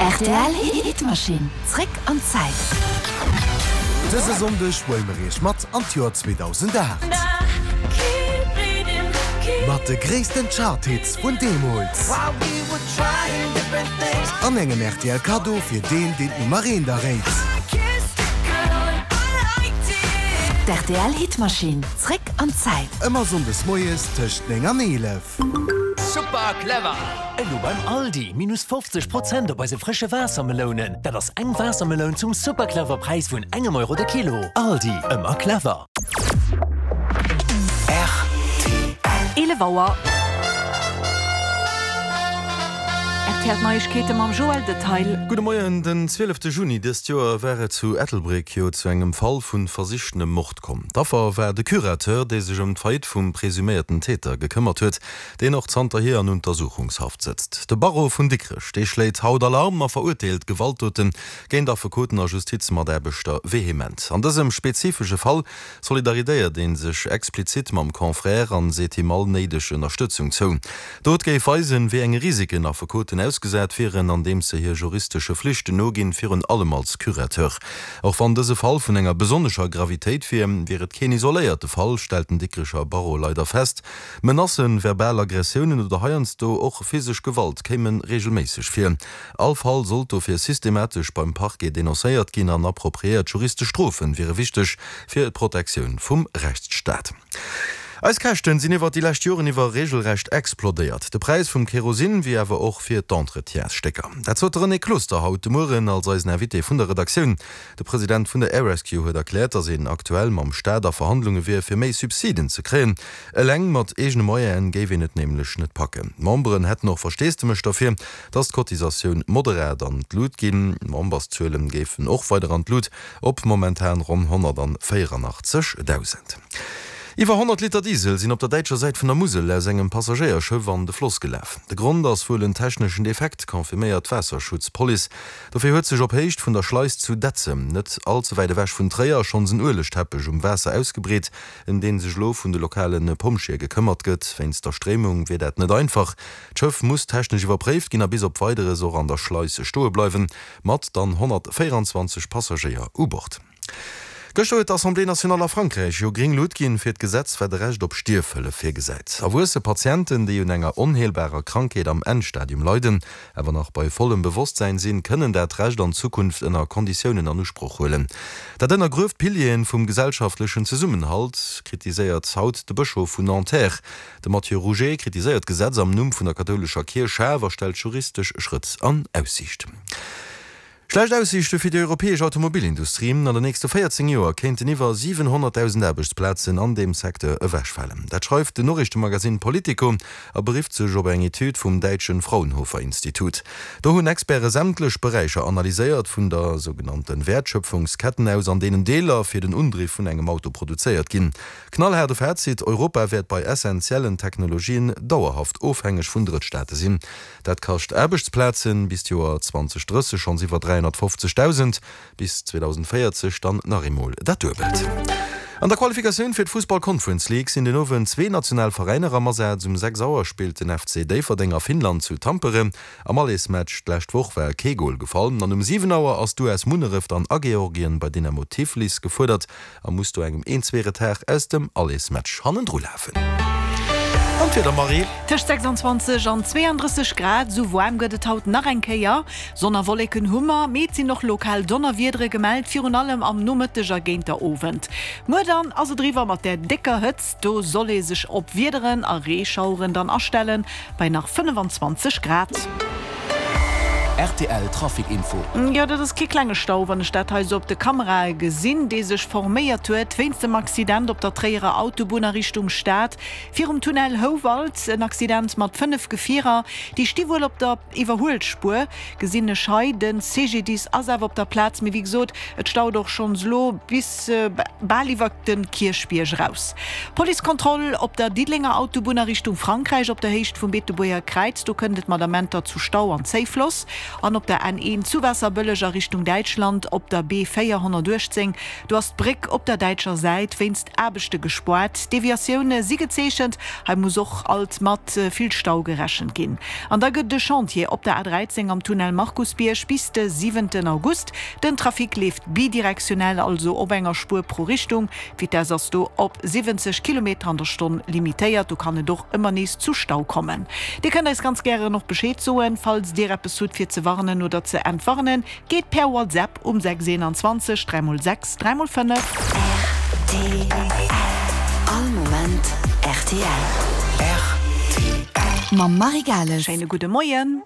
Rtl Hitmaschinn, zréck an d'Zäit. Dëse Sonndeg huele mer iech mat an d'Joer 2008. Mat de gréissten Charthits vun deemools. An engem rtl Kaddo fir deen, deen d'Nummer eent erréit. D'RTL Hitmaschinn, zréck an d'Zäit. Ëmmer Sonndes moies tëscht 9 an 11. Super clever! Elo beim Aldi, minus 50 Prozent op eise frësche Waassermelounen. Dat ass eng Waassermeloun zum super clever Präis vun engem Euro de Kilo. Aldi, ëmmer clever! Rtl. 11 Auer. Rtl Neiegkeete mam Joël Detail. Gudde Moien, Den 12 Juni dëst Joer war et zu Ettelbréck jo zu engem Fall vu versichtenem Mord komm. D'Affer war de Curateur, dee sech ëm d'Faillite vum presuméierten Täter gekëmmert huet, deen och zanterhier an Untersuchungshaft sëtzt. De Barreau vun Dikrech, dee schléit haut Alarm a verurteelt Gewaltdote géint Affekoten a Justizmataarbechter vehement. An dësem spezifesche Fall solidaridéiert ee sech explizit mam Confrère an seet him all néideg Ënnerstëtzung zou. D'Dot géif weisen, wéi enge Risiken Affekoten ausgesat wieren, andeems se hir juristesche Flichten noginn, virun allem als Curateur. Och wann dëse Fall vun enger besonnescher Gravitéit wier, wier et keen isoléierte Fall, stellt den Dikrecher Barreau leider fest. Menacen, verbal Aggressiounen oder heiansdo och physesch Gewalt kéime reegelméisseg vir. All Fall sollt dofir systematesch beim Parquet denoncéiert ginn an appropriéiert juristesch Strofe wiere wichteg fir d'Protektioun vum Rechtsstaat. Eis Käschten sinn iwwert déi lescht Joren iwwer regelrecht explodéiert. De Präis vum Kerosin, wéi awer och fir d'Entretiensstécker. Dat sot de René Closter haut de Mueren als eisen Invité vun der Redaktioun. De President vun der Air Rescue huet erkläert, datt een aktuell mam Staat a Verhandlunge wier, fir méi Subsiden ze kréien. Eleng mat eegene Moyenen géif een et nämlech net packen. D'Memberen hätten och Versteesdemech derfir, datt d'Cotisatioun moderat an d'Lut ginn. D'Memberszuelen géifen och weider an d'Lut Op momentan ronn 184.000. Iwwer 100 Liter Diesel sinn op der däitscher Säit vun der Musel aus engem Passagéierschëff an de Floss gelaf. De Grond ass wuel en techneschen Defekt, confirméiert d'Waasserschutzpolice. Dofir huet sech op Héicht vun der Schleis zu Detzem, net all ze wäit ewech vun Tréier, schonns en Uelegteppech um Waasser ausgebreet, ëm deen sech elo vun de lokale Pompjeeë gekëmmert gëtt. Wéinst der Stréimung wier dat net einfach. D'Schëff muss technesch iwwerpréift ginn a bis op Weideres och an der Schleis stoe bleiwen. Mat dann 124 Passagéier u Bord. Gëschter huet d'Assemblée nationale a Frankräich jo gréng Lut ginn fir d'Gesetz, wat e Recht op Stierfhëllef virgesäit. Erwuesse Patienten, déi un enger onheelbarer Krankheet am Endstadium leiden, awer nach bei vollem Bewosstsäin sinn, kënnen dat Recht an Zukunft ënner Konditiounen an Usproch huelen. Dat ënnergrueft d'Pilieren vum gesellschaftlechen Zesummenhalt, kritiséiert haut de Bëschof vun Nanterre. De Mathieu Rouget kritiséiert d'Gesetz am Numm vun der kathoulescher Kierch schaarf a stellt juristesch Schrëtt an Aussiicht. Schlecht Aussiichte fir déi europäesch Automobilindustrie, An den nächste 14 Joer kéinten iwwer 700.000 Aarbechtsplazen an deem Secteur ewechfalen. Dat schreift den Noriichtemagasinn Politico a berifft sech op eng Etüd vum däitsche Fraunhofer-Institut. Do hunn Experte sämtlech Beräicher analyséiert, vun der sougenannte Wäertschöpfungsketten aus, an deenen Deeler fir den Undriff vun engem Auto produzéiert ginn. Knallhaarde Fazit, Europa wäert bei essentiellen Technologien dauerhaft ofhängeg vun Drëttstaate sinn. Dat kascht Aarbechtsplazen, bis d'Joer 2030 schonns iwwer 350.000, bis 2040 dann nach eemol dat Duebelt. An der Qualifikatioun fir d'Fussball Conference League sinn den Owend zwee national Veräiner am Asaz. Um 6 Auer spillt den FC Déifferdeng a Finnland zu Tampere. Am Allersmatch d'lescht Woch war kee Gol gefall. An um 7 Auer ass d'US Munneref dann a Georgien bei Dynamo Tiflis gefuerdert. A muss do engem een zwee Retard aus dem Allersmatch hannendru lafen. An d'Wieder, Marie? Tëscht 26 an 32 Grad, esou waarm gëtt et haut nach eng Kéier. Sonn a Wolleken hu mer, mee et sinn och lokal Donnerwiedere gemellt, virun allem am Nomëtteg a géint der Owend. Muer dann ass et eriwwer mat där décker Hëtzt, do soll ee sech op Wiederen a Reeschaueren dann astellen, bei nach 25 Grad. Rtl Trafic Info. Jo, dat ass kee klenge Stau, wann ech dat hei esou op de Kamerae gesinn, dee sech forméiert huet wéinst dem Accident op der Tréierer Autobunn a Richtung Stad, virum Tunnel Houwald. En Accident mat 5 Gefierer, déi sti wuel op der Iwwerhuelspuer, gesinn ech hei. De CGDIS ass awer op der Plaz, mee wéi gesot, et staut och schonns elo bis bal iwwer de Kierchbierg eraus. Policekontroll op der Diddelenger Autobunn a Richtung Frankräich op der Héicht vum Beetebuerger Kräiz. Do kënnt et mat Amenter zu Stau an Zéifloss. An op der N1 zu Waasserbëlleg a Richtung Däitschland op der B 418, do ass d'Bréck op der däitscher Säit wéinst Aarbechte gespoart. Deviatioune si gezeechent, hei muss och alt mat vill Stau gerechent ginn. An da gëtt et e Chantier op der A13 am Tunnel Markusbierg bis de siwenten August. Den Trafic leeft bidirektionell, also op enger Spuer pro Richtung. D'Vitess ass do op 70 Kilometer an der Stonn limitéiert. Do kann et och ëmmer nees zu Stau kommen. Dir kënnt eis ganz gären och Bescheed soen, falls dir eppes hutt fir ze warnen oder ze entwarnen. Geet per WhatsApp um 6 21 3 x 6 3 x 5. Rtl. All Moment rtl. Rtl. Mam Marie Gales. Schéine gudde Moien.